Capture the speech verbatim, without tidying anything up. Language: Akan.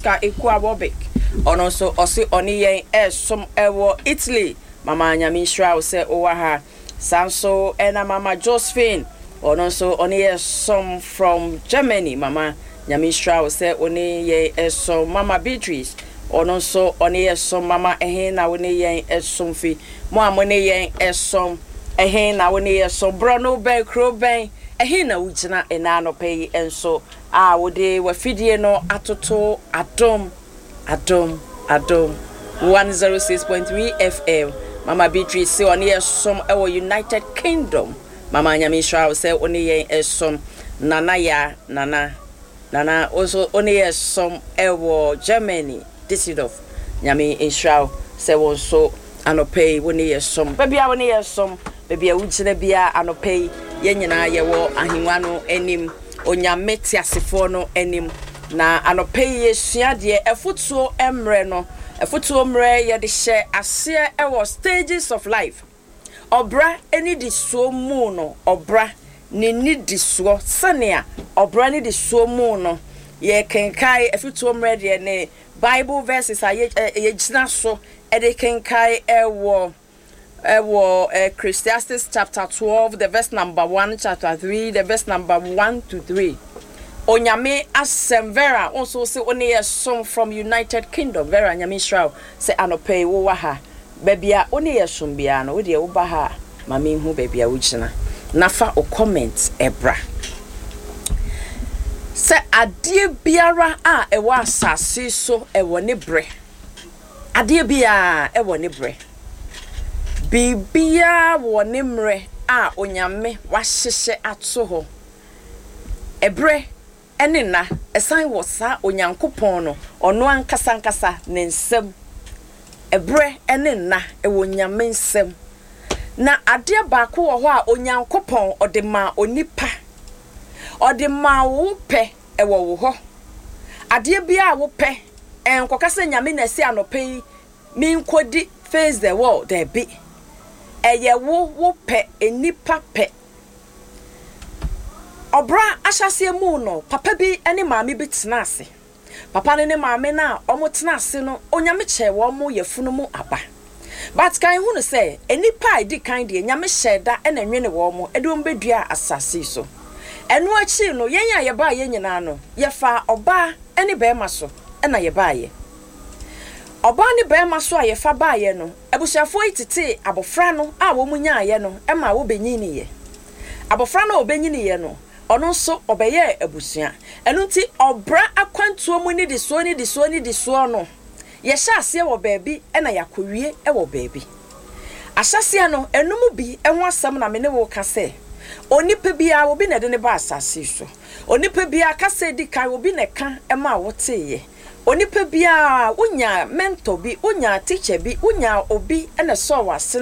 Ka Ekua Wobik, ɔno nso ɔse ɔne yɛn ɛsom ɛwɔ Italy. Mama, Nyame nhyira wo sɛ wowɔ ha. Saa nso ɛna Mama Josephine, ɔno nso ɔne yɛ som from Germany. Mama, Nyame nhyira wo sɛ ɔne yɛn ɛsom. Mama Beatrice, ɔno nso ɔne yɛ som. Mama, ɛhe na wo ne yɛn ɛsom fi? Mo a mo ne yɛn ɛsom, ɛhe na wo ne yɛ som? Borɔ no bɛn, kuro bɛn, ɛhe na wogyina ɛna anɔpɛ yi nso a wode wafidie no atoto Adom, Adom, Adom one oh six point three F M? Mama Beatrice sɛ ɔne yɛ som ɛwɔ United Kingdom. Mama, Nyame nhyira wo sɛ wo ne yɛn ɛsom. Nana Ya Nana, Nana wo nso wo ne yɛ som ɛwɔ Germany, Düsseldorf. Nyame nhyira wo sɛ wo nso anɔpɛ yi wo ne yɛ som. Baabi a wo ne yɛ som, baabi a wogyina biara anɔpɛ yi, yɛn nyinaa yɛwɔ ahengua no anim, Onyame teasefoɔ no anim. Na anɔpɛ yi yɛsua deɛ ɛfotuo mmerɛ no. Ɛfotuo mmerɛ, yɛde hyɛ aseɛ ɛwɔ stages of life, ɔbra ne di soɔ mu no, ɔbra ne nidisoɔ, sɛnea ɔbra ne di soɔ mu no. Yɛkenkae afotuo mmerɛ deɛ ne Bible verses a yɛgyina so ɛde kenkae ɛwɔ ɛwɔ Ecclesiastes chapter twelve, the verse number one, chapter three, the verse number one to three. Onyame asɛm. Vera, wo nso sɛ wo ne yɛ som from United Kingdom. Vera, Nyame nhyira wo sɛ anɔpɛ yi wowɔ ha. Baabi a wo ne yɛ som biara no, wodeɛ woba ha a, ma menhu baabi a wogyina na fa wo comment ɛbra. Sɛ adeɛ biara a ɛwɔ asase so ɛwɔ ne berɛ, adeɛ biara ɛwɔ ne berɛ, biribiara wɔ ne mmerɛ a Onyame wahyehyɛ ato hɔ. Ɛberɛ ɛne nna ɛsan wɔ saa Onyankopɔn no, ɔno ankasa ankasa ne nsam. Ɛberɛ ɛne nna ɛwɔ Nyame nsam. Na adeɛ baako wɔ hɔ a Onyankopɔn ɔde maa onipa, ɔde maa wo pɛ, ɛwɔ wo hɔ. Adeɛ biara a wopɛ, ɛnkɔka sɛ Nyame na ɛsɛ anɔpɛ yi menkɔdi face the world. Daabi, ɛyɛ wo wo pɛ, enipa pɛ. Ɔbra ahyɛseɛ mu no, papa bi ne maame bi tena ase. Papa no ne maame no a wɔn tena ase no, Onyame kyerɛ wɔn mo yɛfunu mu aba. But kan hu no sɛ nipa a edi kan deɛ, Nyame hyɛ da ɛna nwene wɔn mo ɛde wɔn bɛdua asase so. Ɛno akyi no, yɛn a yɛbaa yɛn nyinaa no, yɛfa ɔbaa ne bɛrima so ɛna yɛbaayɛ. Ɔbaa ne bɛrima so a yɛfa baayɛ no, abusuafoɔ yi tete abɔfra no a wɔn nyaayɛ no ɛma wɔbɛnyiniiɛ. Abɔfra no a ɔbɛnyiniiɛ no, ɔno nso ɔbɛyɛɛ abusua. Ɛno nti ɔbra akwantuo mu nidisoɔ, nidisoɔ, nidisoɔ no, yɛhyɛ aseɛ wɔ baabi ɛna yɛakɔwie ɛwɔ baabi. Ahyɛseɛ no, ɛnum bi ɛho asɛm na me ne wo ka sɛ onipa biara, obi na ɛde ne ba asase so. Onipa biara kasa edi kan, obi na ɛka ɛma a woteeɛ. Onipa biara wonya mentor bi, wonya teacher bi, wonya obi ɛna ɛsɔɔ w'ase.